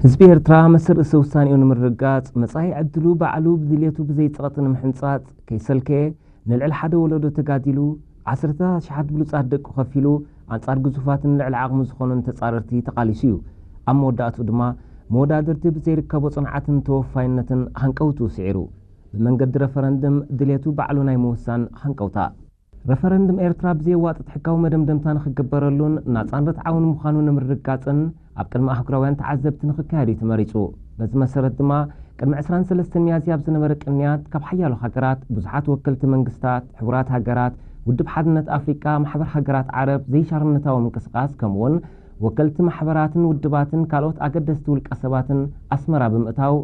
ህዝቢ ኤርትራ መሰል ርእሰ ውሳኔኡ ንምርግጋጽ፣ መጻኢ ዕድሉ ባዕሉ ብድልየቱ ብዘይ ጸቕጢ ንምሕንጻጽ ከይሰልከየ፣ ንልዕሊ ሓደ ወለዶ ተጋዲሉ፣ ዓሰርተ ኣሽሓት ብሉጻት ደቁ ከፊሉ፣ ኣንጻር ግዙፋትን ልዕሊ ዓቕሙ ዝኾኑን ተጻረርቲ ተቓሊሱ እዩ። ኣብ መወዳእትኡ ድማ፣ መወዳድርቲ ብዘይርከቦ ጽንዓትን ተወፋይነትን ሃንቀውትኡ ስዒሩ። ብመንገዲ ረፈረንድም ድልየቱ ባዕሉ ናይ ምውሳን ሃንቀውታ። ረፈረንድም ኤርትራ ብዘየዋጥጥ ሕጋዊ መደምደምታ ንኽግበረሉን ናጻን ርትዓውን ምዃኑ ንምርግጋጽን ኣብ ቅድሚ ኣህጉራውያን ተዓዘብቲ ንኽካየድ እዩ ተመሪጹ። በዚ መሰረት ድማ ቅድሚ ዕስራን ሰለስተን ሚያዝያ ኣብ ዝነበረ ቅንያት ካብ ሓያሎ ሃገራት ብዙሓት ወከልቲ መንግስታት፣ ሕቡራት ሃገራት፣ ውድብ ሓድነት ኣፍሪቃ፣ ማሕበር ሃገራት ዓረብ፣ ዘይሻርነታዊ ምንቅስቓስ ከምኡውን ወከልቲ ማሕበራትን ውድባትን ካልኦት ኣገደስቲ ውልቀ ሰባትን ኣስመራ ብምእታው